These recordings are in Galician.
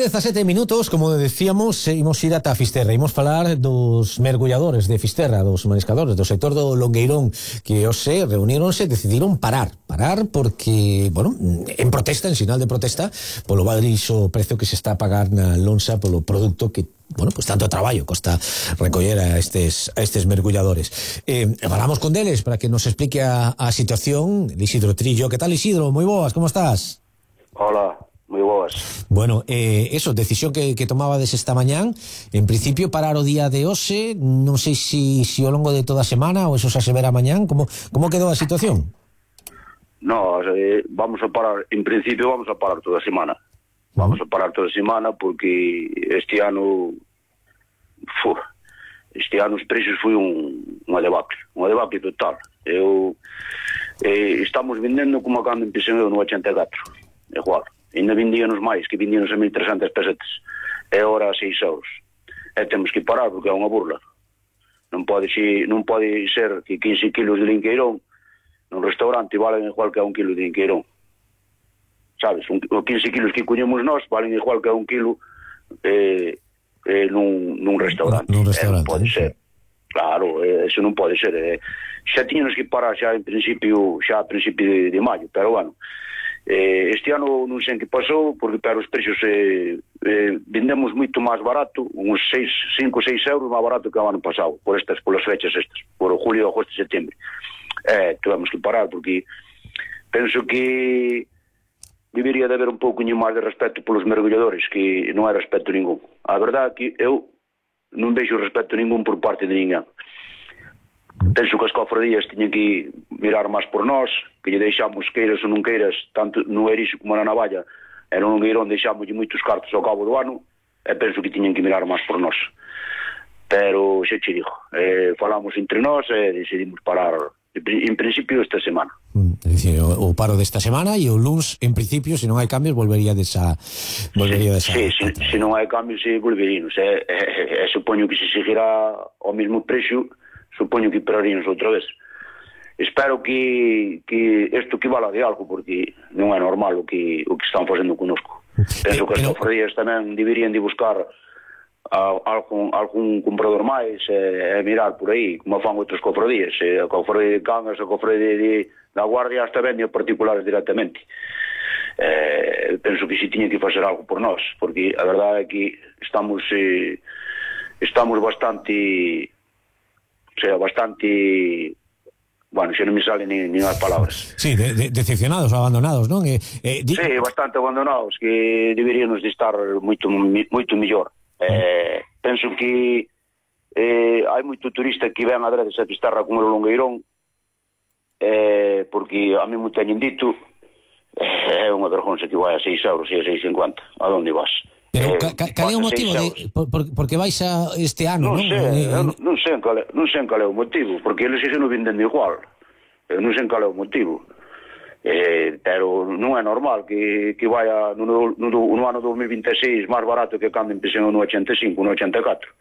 9:17, como decíamos, imos ir ata Fisterra. Imos falar dos mergulladores de Fisterra, dos mariscadores do sector do Longueirón, que hoxe reuníronse e decidiron parar porque, bueno, en protesta, en sinal de protesta, polo baixo precio que se está a pagar na lonxa polo produto que, bueno, pues tanto traballo costa recoller a estes mergulladores. Falamos con deles para que nos explique a situación. Isidro Trillo, que tal, Isidro? Moi boas, como estás? Hola, moi boas. Bueno, eso, decisión que tomabades esta mañán. En principio parar o día de hoxe, non sei se ao longo de toda a semana ou eso xa se verá mañán. Como quedou a situación? No, vamos a parar, en principio vamos a parar toda a semana. Vamos a parar toda a semana porque este ano os precios foi unha debacle total. Estamos vendendo como cando empecé no 84, igual. Ainda vendíanos máis, que vendíanos a 1.300 pesetas, e ahora a 6 euros. E temos que parar porque é unha burla. Non pode ser que 15 kilos de linqueirón nun restaurante valen igual que a 1 kilo de linqueirón. Sabes, 15 kilos que coñemos nós valen igual que a 1 kilo nun restaurante. Nun restaurante. Non pode ser. Claro, eso non pode ser. Xa tiñamos que parar xa a principio de maio, pero bueno, este ano non sei en que pasou, porque para os precios vendemos moito máis barato, uns 5 ou 6 euros máis barato que o ano pasado, polas fechas estas, por julio, agosto e setembro. Tivemos que parar porque penso que debería de haber un pouco máis de respeto polos mergulladores, que non hai respeto ningún. A verdade é que eu non vexo respeto ningún por parte de ninguén. Penso que as cofradías tiñen que mirar máis por nós, que lle deixamos, queiras ou non queiras, tanto no Erixe como na Navalla, e no Longueirón deixamos moitos cartos ao cabo do ano, e penso que tiñen que mirar máis por nós. Pero, xa che digo, falamos entre nós e decidimos parar, en principio, esta semana. É dicir, o paro desta semana e o luns, en principio, se non hai cambios, volvería desa... Sí, se non hai cambios, volveríamos. Supoño que se seguirá ao mesmo precio, supoño que pararíamos outra vez. Espero que isto que vala de algo, porque non é normal o que están facendo conosco. Penso que as cofradías tamén deberían de buscar algún comprador máis e mirar por aí, como fan outras cofradías. A cofradía de Cangas, a cofradía da Guardia hasta vende a particulares directamente. Penso que si tiña que facer algo por nós, porque a verdade é que estamos bastante, bueno, xa non me salen nin as palabras. Sí, decepcionados ou abandonados, non? Sí, bastante abandonados, que deberíamos de estar moito mellor. Penso que hai moito turista que ven a Dredes a Fisterra como o Longueirón, porque a mí me teñen dito, é unha vergonza que vai a 6 euros e a 6,50. A onde vas? Pero cal é o motivo porque vais a este ano, non? Non sei cal é o motivo, porque eles se non venden igual. Non sei cal é o motivo. Pero non é normal que vaya no ano 2026 máis barato que cando empecé no 85, no 84.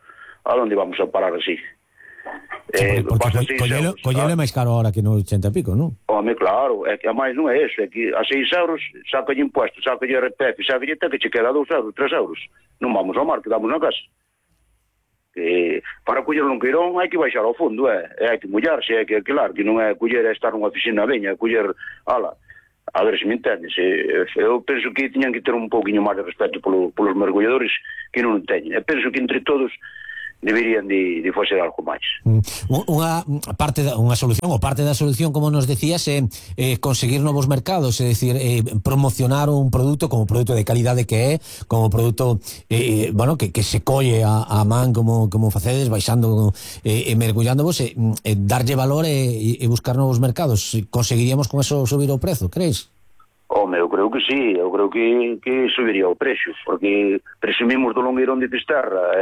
A onde vamos a parar así? Porque collelo é máis caro ahora que no 80 e pico, non? Home, claro, é que a máis non é eso, é que a 6 euros sacalle impuestos, sacalle RPF, sacalle que che queda 2 euros, 3 euros. Non vamos ao mar, quedamos na casa. Para coller o Longueirón hai que baixar ao fondo, hai que mollarse, hai que alquilar, que non é coller e estar nunha oficina veña, coller, a ver se me entendes. Eu penso que tiñan que ter un pouquinho máis de respeto polos mergulladores que non teñen. E penso que entre todos deberían de facer algo máis. Unha solución, ou parte da solución, como nos decías, é conseguir novos mercados, é dicir, promocionar un produto como produto de calidade que é, como produto bueno, que se colle a man como facedes, baixando e mergullándovos, darlle valor e buscar novos mercados. Conseguiríamos con eso subir o prezo, crees? Home, eu creo que sí, eu creo que subiría o precio, porque presumimos do Longueirón de Fisterra,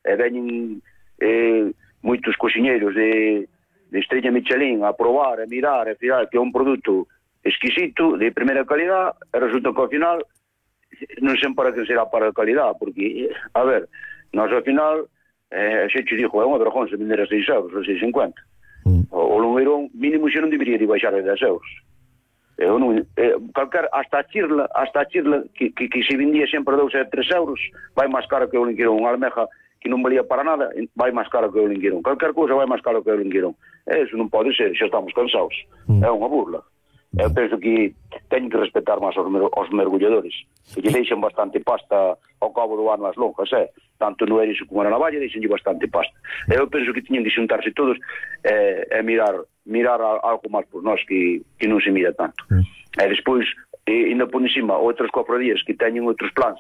e veñen moitos cociñeiros de Estrella Michelin a probar, a mirar, a fiar que é un produto exquisito, de primeira calidad, e resulta que ao final non sei para que será para a calidad, porque, a ver, nós ao final xe te dixo, é unha vergonza vender a 6 euros, a 6,50. O Longueirón mínimo xe non debería de baixar a 10 euros. Eu non, hasta a chirla que se vendía sempre a 2 e 3 euros, vai máis cara que o lingueirón. Unha almeja que non valía para nada, vai máis cara que o lingueirón. Calquer cousa vai máis cara que o lingueirón. Eso non pode ser, xa estamos cansados. É unha burla. Eu penso que teñen que respetar máis os mergulladores, que lle deixan bastante pasta ao cabo do ano as lonjas, tanto no erizo como na navalla deixenlle bastante pasta. Eu penso que tiñen que xuntarse todos e mirar algo máis por nós que non se mira tanto. E despois, ainda por encima, outras cofradías que teñen outros plans,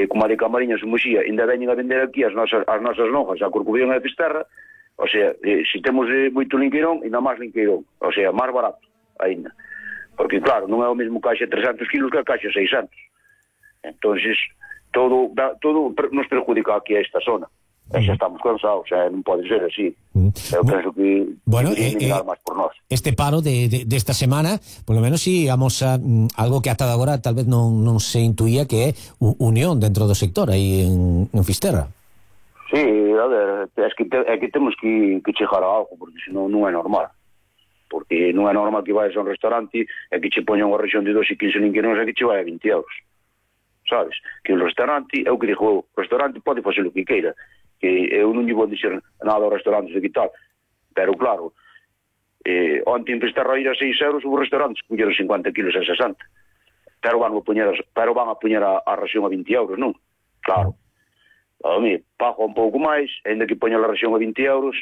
como a de Camariñas e Muxía, ainda veñen a vender aquí as nosas lonjas, a Corcubión e a Fisterra, o sea, se temos moito lingueirón, ainda máis lingueirón, o sea, máis barato ainda. Porque, claro, non é o mesmo caixa 300 kilos que a caixa 600. Entonces, todo nos perjudica aquí a esta zona. E xa estamos cansados, non pode ser así. Eu penso que mirar máis por nós. Este paro de esta semana, por lo menos si vamos a algo que ata agora tal vez non se intuía, que é unión dentro do sector aí en Fisterra. Sí, a ver, é que temos que chegar a algo, porque senón non é normal. Porque non é normal que vayas a un restaurante e que che poña unha rexión de 2 e 15 lingueiróns e que che vai a 20 euros. Sabes? Que o restaurante, é o que digo, o restaurante pode facer o que queira, que eu non lle vou dixer nada aos restaurantes de que tal, pero claro, onte en Fisterra ir a 6 euros, os restaurantes puñeron 50 kilos a 60, pero van a poñer a ración a 20 euros, non? Claro. A mí, pago un pouco máis, ainda que poña a ración a 20 euros,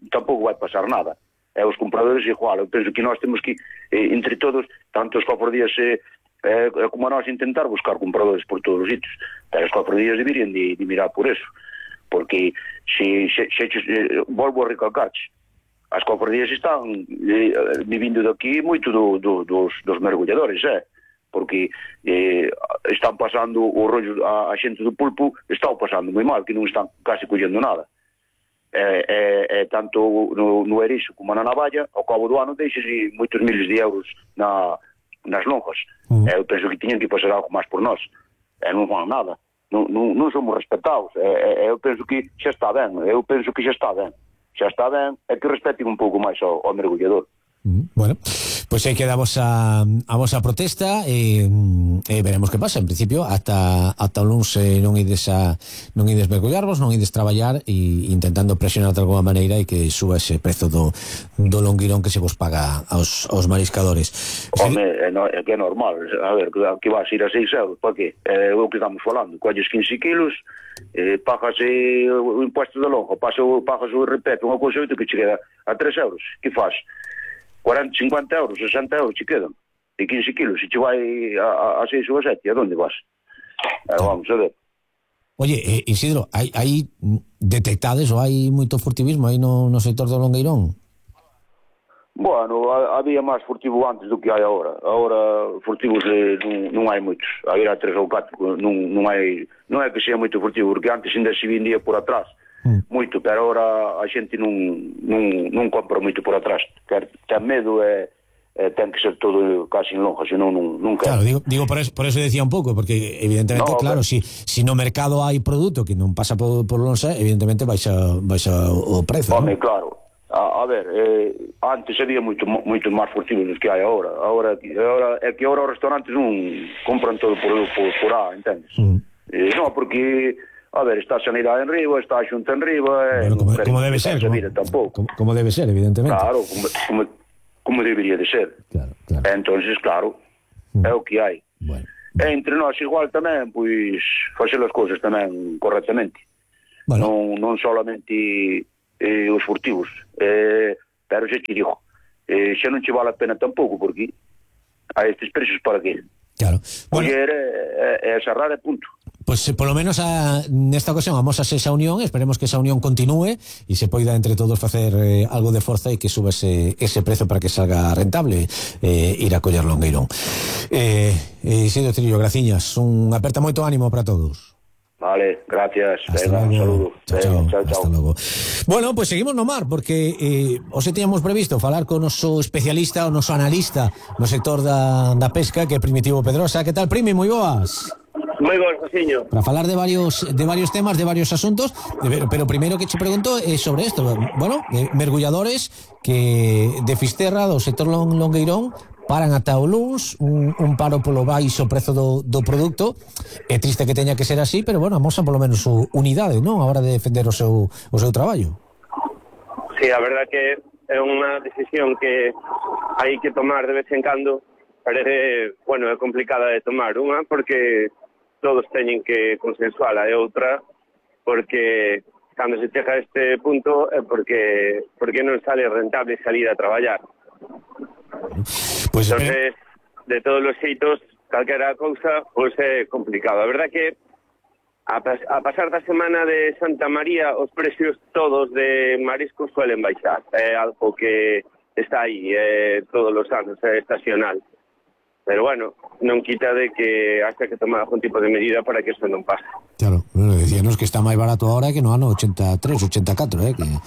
tampouco vai pasar nada. E os compradores igual. Eu penso que nós temos que, entre todos, tanto os cofradías como a nós, intentar buscar compradores por todos os sitios. Pero os cofradías deberían de mirar por eso. Porque volvo a recalcarche, as cofradías están vivindo daqui moito dos mergulladores, porque están pasando o rollo, a xente do pulpo está pasando moi mal, que non están casi collendo nada. Tanto no erizo como na navalla, ao cabo do ano deixase moitos miles de euros nas lonjas. Eu penso que tiñen que pasar algo máis por nós, non fan nada, non somos respetados. Eu penso que xa está ben, é que respeten un pouco máis ao mergullador. Bueno, pois aí quedamos a vosa protesta e veremos que pasa. En principio, ata o luns non ides mergullarvos, non ides traballar, e intentando presionar de alguma maneira e que suba ese prezo do longueirón que se vos paga aos mariscadores. Home, é que é normal. A ver, que vas ir a 6 euros, para que? É o que estamos falando. Colles 15 kilos, pagas o impuesto da lonja, pagas o repete, unha cousa que che queda a 3 euros. Que faz? 40, 50 euros, 60 euros che quedan de 15 kilos, se che vai a 6 ou a 7, a onde vas? Vamos a ver. Oye, Isidro, hai detectades ou hai moito furtivismo aí no sector do longueirón? Bueno, había máis furtivo antes do que hai agora. Agora furtivos non hai moitos. Había 3 ou 4, non é que sea moito furtivo, porque antes ainda se vendía por atrás moito, pero agora a xente non compra moito por atrás. Ten medo e ten que ser todo casi en lonja, senón non quer. Claro, digo por eso decía un pouco, porque evidentemente, no, claro, si no mercado hai produto que non pasa por lonxa, evidentemente baixa o prezo. Home, ¿no? Claro. A ver, antes había moito máis furtivos dos que hai agora. Agora é que agora os restaurantes non compran todo por A, entendes? Non, porque a ver, está a sanidade en riba, está a xunta en riba, bueno, como debe ser, como debe ser, evidentemente. Claro, como debería de ser. Claro. Entonces, claro, é o que hai. Bueno. E entre nós igual tamén, pois, facer as cousas tamén correctamente. Bueno. Non solamente os furtivos, pero xa te digo, xa non che vale a pena tampouco, porque a estes precios para que? Claro. Bueno, é cerrar e punto. Pues por lo menos nesta ocasión vamos a hacer esa unión, esperemos que esa unión continúe e se poida entre todos facer algo de forza e que suba ese prezo para que salga rentable ir a coller longueirón. Isidro Trillo, graciñas, aperta moito ánimo para todos. Vale, gracias. Venga, un saludo. Chao. Hasta logo. Bueno, pues seguimos no mar, porque hoxe teníamos previsto falar con o noso especialista, o noso analista no sector da pesca, que é Primitivo Pedrosa. Que tal, Primi? Moi boas. Moi boas, Josiño. Para falar de varios temas, de varios asuntos, pero primeiro que che pregunto é sobre isto. Bueno, mergulladores que de Fisterra, do sector longueirón, paran ata o luns, un paro polo baixo prezo do produto. É triste que teña que ser así, pero bueno, amosan polo menos unidade, non, a hora de defender o seu traballo. Sí, a verdad que é unha decisión que hai que tomar de vez en cando, pero bueno, é complicada de tomar. Unha, porque todos teñen que consensuala, e outra, porque cando se chega a este punto é porque non sale rentable salir a traballar. Pues, entonces, de todos os xeitos, calquera cousa, pois é complicado. A verdad que a pasar da semana de Santa María, os precios todos de mariscos suelen baixar. É algo que está aí todos os anos, é estacional. Pero bueno, non quita de que hasta que tomar algún tipo de medida para que isto non pase. Claro, bueno, decíanos que está máis barato ahora que no ano 83, 84, Bueno,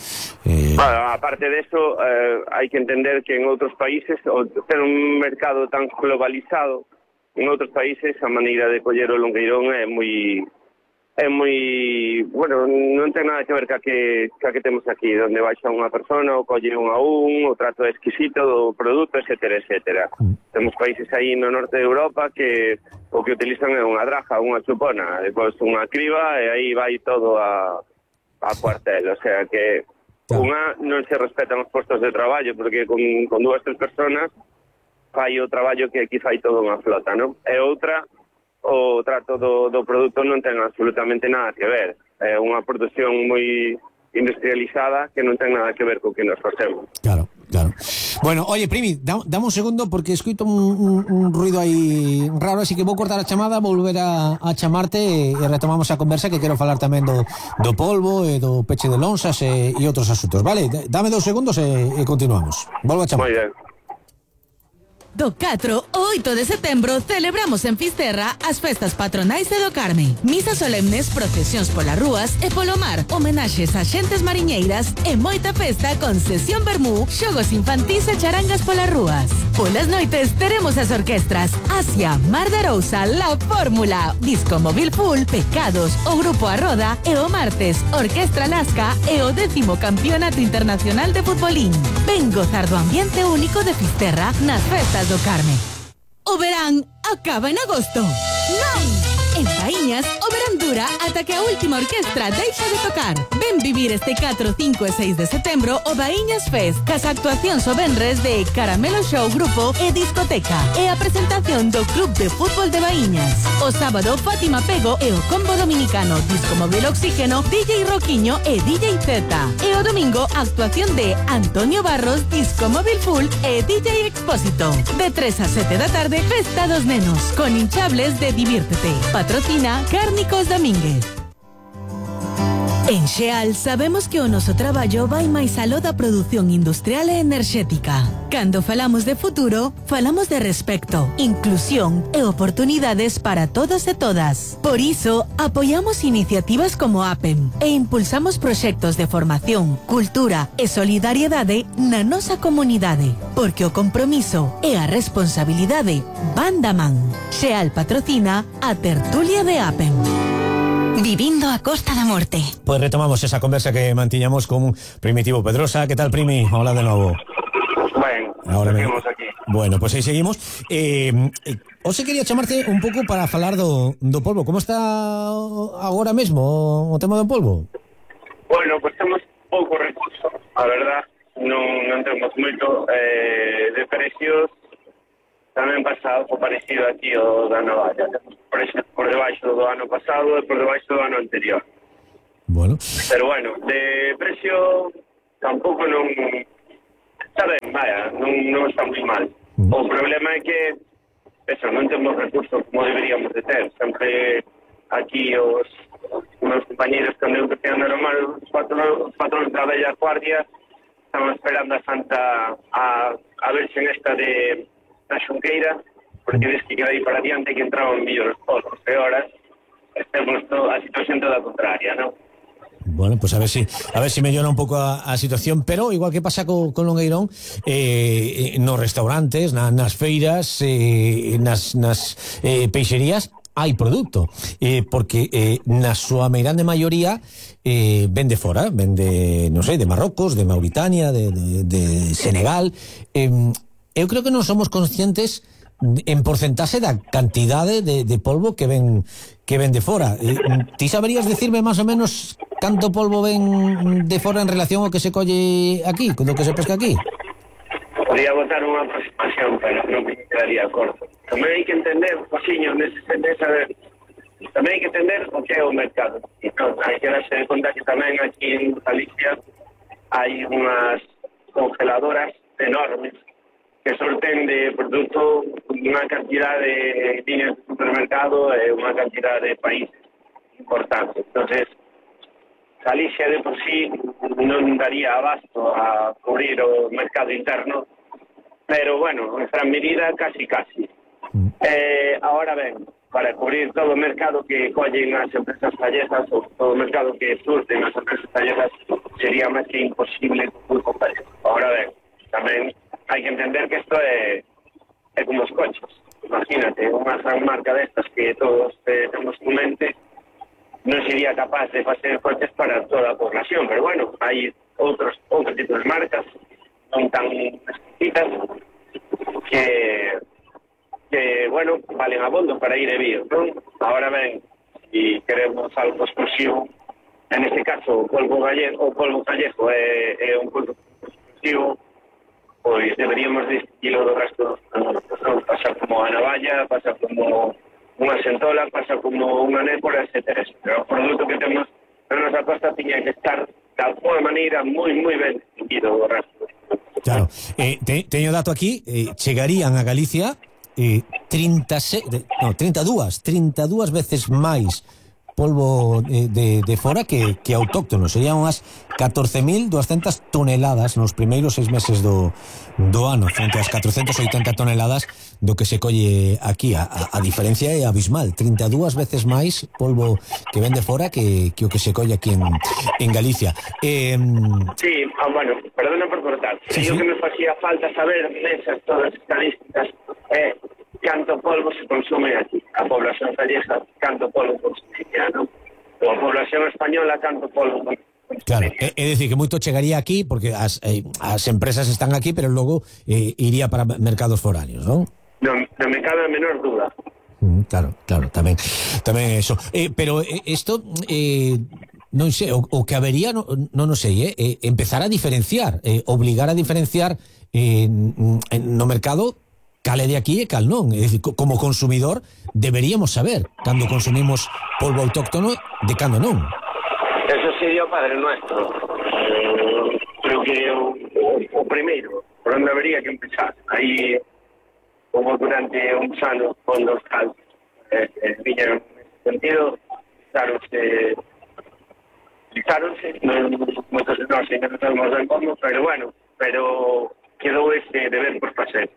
aparte de eso, hai que entender que en outros países, ao ter un mercado tan globalizado, en outros países a maneira de coller o longueirón é moi, bueno, non ten nada que ver ca que temos aquí, onde baixa unha persona, ou colle un a un, o trato é exquisito do produto, etcétera, etcétera. Temos países aí no norte de Europa que o que utilizan é unha draja, unha chupona, depois unha criba, e aí vai todo a cuartel, o sea que unha non se respetan os postos de traballo, porque con 2 3 personas fai o traballo que aquí fai toda unha flota, non? E outra, o trato do produto non ten absolutamente nada que ver. É unha produción moi industrializada que non ten nada que ver co que nos facemos. Claro. Bueno, oye, Primi, dame un segundo porque escuito un ruido aí raro, así que vou cortar a chamada, volver a chamarte e retomamos a conversa, que quero falar tamén do polvo e do peche de lonxas e outros asuntos, vale? Dame 2 segundos e continuamos. Volvo a chamar. Moi ben. Do 4 ao 8 de setembro celebramos en Fisterra as festas patronais de do Carme. Misas solemnes, procesións polas rúas e polo mar, homenaxes a xentes mariñeiras e moita festa con sesión vermú, xogos infantís e charangas polas rúas. Polas noites teremos as orquestras Asia, Mar de Arousa, La Fórmula, Disco Móvil Full, Pecados, o Grupo A Roda e o martes Orquestra Lasca e o 10º Campeonato Internacional de Futbolín. Ven gozar do ambiente único de Fisterra nas festas do Carme. O verán acaba en agosto. Non! En Baíñas, o verán dura ata que a última orquestra deixa de tocar. Ven vivir este 4, 5 e 6 de setembro o Baíñas Fest, cas actuacións o venres de Caramelo Show Grupo e Discoteca, e a presentación do Club de Fútbol de Baíñas. O sábado, Fátima Pego e o combo dominicano Disco Móvil Oxígeno, DJ Roquiño e DJ Z. E o domingo, actuación de Antonio Barros, Disco Móvil Full e DJ Expósito. De 3 a 7 da tarde, Festa dos Nenos, con hinchables de Diviértete. Patrocina Cárnicos Domínguez. En Xeal sabemos que o noso traballo vai máis aló da produción industrial e enerxética. Cando falamos de futuro, falamos de respecto, inclusión e oportunidades para todos e todas. Por iso, apoiamos iniciativas como APEM e impulsamos proxectos de formación, cultura e solidariedade na nosa comunidade, porque o compromiso e a responsabilidade van da man. Xeal patrocina a tertulia de APEM. Vivindo a Costa da Morte. Pues retomamos esa conversa que mantiñamos con Primitivo Pedrosa. ¿Qué tal, Primi? Hola de novo. Ben, Ahora seguimos aquí. Bueno, pues aí seguimos. Hoxe quería chamarte un pouco para falar do polvo. Como está agora mesmo o tema do polvo? Bueno, pues temos pouco recurso, a verdad, non temos moito de precios. Tamén pasa algo parecido aquí o da Navalla. Precios por debaixo do ano pasado e por debaixo do ano anterior. Bueno. Pero bueno, de precio tampouco non está ben, vaya, non está moi mal. O problema é que eso, non temos recursos como deberíamos de ter. Sempre aquí os meus compañeros cando eu empecé a andar o mar, os patróns da Bella Guardia estaban esperando a Santa a verse esta de na Xunqueira, porque ves que queda aí para adiante que entraban mellores pozos e horas estemos a situación toda contraria, non? Bueno, pues a ver si mellora un pouco a situación, pero igual que pasa con Longueirón, nos restaurantes, nas feiras, nas peixerías hai produto, porque na súa meirande maioría vende fora, vende, non sei, de Marrocos, de Mauritania, de Senegal. eu creo que non somos conscientes en porcentaxe da cantidade de polvo que ven de fora. Ti saberías decirme máis ou menos canto polvo ven de fora en relación ao que se colle aquí, do que se pesca aquí? Podría botar unha aproximación, pero non me quedaría corto. Tamén hai que entender, Josiño, tamén hai que entender o que é o mercado. Entón, hai que darse conta que tamén aquí en Galicia hai unhas congeladoras enormes que sorten de produto unha cantidad de líneas de supermercado e unha cantidad de países importantes. Entonces, Galicia de por sí non daría abasto a cubrir o mercado interno, pero bueno, en gran medida casi. Ahora ben, para cubrir todo o mercado que collen as empresas gallegas ou todo o mercado que surten as empresas gallegas sería máis que imposible muy complejo. Ahora ben, tamén hai que entender que isto é como os coches. Imagínate, unha gran marca destas que todos temos en mente non sería capaz de facer coches para toda a población, pero bueno, hai outros tipos de marcas non tan exquisitas que bueno, valen abondo para ir de bio, non? Ahora ben, si queremos algo exclusivo, en este caso o polvo gallego é un polvo exclusivo, pois deberíamos distinguirlo do resto non pasa como a navalla, pasa como unha centola, pasa como unha népora, etcétera. O produto que temos na nosa costa tiña que estar de alguma maneira moi ben distinguido do resto. Claro, teño dato aquí, chegarían a Galicia 32 veces máis polvo de fora que autóctono. Serían unhas 14.200 toneladas nos primeiros 6 meses do ano, frente ás 480 toneladas do que se colle aquí. A diferencia é abismal, 32 veces máis polvo que ven de fora que o que se colle aquí en Galicia. Sí, bueno, perdona por cortar. Sí. O que me facía falta saber nesas todas as estadísticas é canto polvo se consume aquí. A población gallega, canto polvo consume, non? A población española, canto polvo consume. Claro, é dicir que moito chegaría aquí porque as empresas están aquí, pero logo iría para mercados foráneos, non? Non me cabe a menor duda. Claro, tamén eso. Pero isto non sei, o que habería non sei, empezar a diferenciar, obligar a diferenciar no mercado cal é de aquí e cal non. É dicir, como consumidor deberíamos saber cando consumimos polvo autóctono de cando non. Eso sería o Padre Nuestro. Creo que o primeiro, por onde habería que empezar. Aí, como durante uns anos, fondos altos viñeron nesse sentido, fixáronse, moitos de nós ainda non sabemos ben como, pero bueno, quedou ese deber por facer.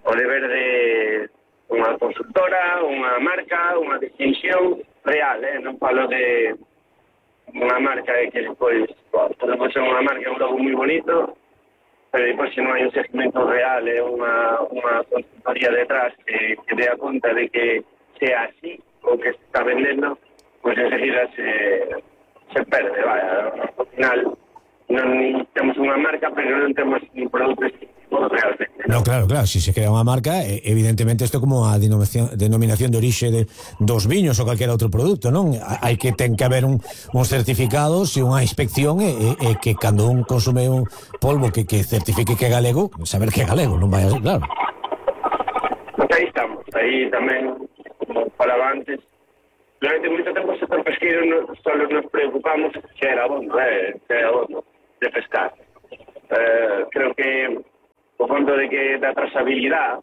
O deber de unha consultora, unha marca, unha distinción real, non falo de unha marca que despois podemos ser unha marca, un logo moi bonito, pero depois se non hai un segmento real e unha consultoría detrás que dé a conta de que sea así o que se está vendendo, pois enseguida se perde, vaya. Ao final non temos unha marca, pero non temos un produto distintivo realmente. No, claro, si se crea unha marca, evidentemente isto é como a denominación de orixe dos viños ou calquera outro produto, non? Hai que ten que haber uns certificados e unha inspección e que cando un consume un polvo que certifique que é galego, saber que é galego, non vai a ser, claro. Aí estamos, aí tamén, como falaba antes, durante moito tempo o sector pesqueiro só nos preocupamos se era abondo de pescar. Creo que o fondo de que a trazabilidade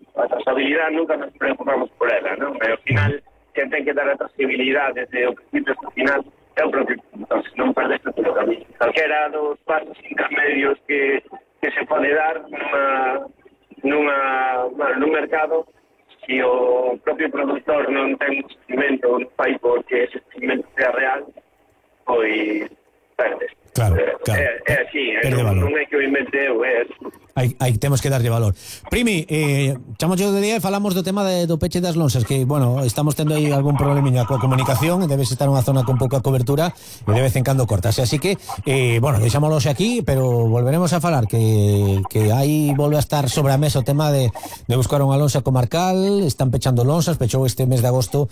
nunca nos preocupamos por ela, non? E ao final, quen ten que dar a trazabilidade desde o principio hasta o final é o propio, entón, non perdeste todo o camino. Calquera dos pasos intermedios que se pode dar nun mercado, se o propio productor non ten un segmento, non fai porque ese segmento sea real, pois perdes. Claro. É así, non é que o invente eu, é así. Aí temos que darlle valor. Primi, chamo yo de día e falamos do tema do peche das lonxas, que, bueno, estamos tendo aí algún problemiña coa comunicación, debes estar unha zona con pouca cobertura e de vez en cando cortase, así que, bueno, deixámoslo aquí, pero volveremos a falar que aí volve a estar sobre a mesa o tema de buscar unha lonxa comarcal. Están pechando lonxas, pechou este mes de agosto,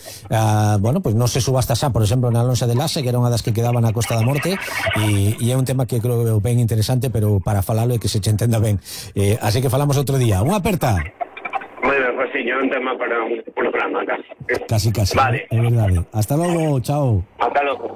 bueno, pois non se subasta xa, por exemplo, na lonxa de Lase, que era unha das que quedaba na Costa da Morte, e é un tema que creo ben interesante, pero para falalo e que se che entenda ben. Así que falamos outro día. Unha aperta. Moi ben, Josiño, un tema para un programa casi. Casi, Vale. É verdade. Hasta logo, chao. Hasta logo.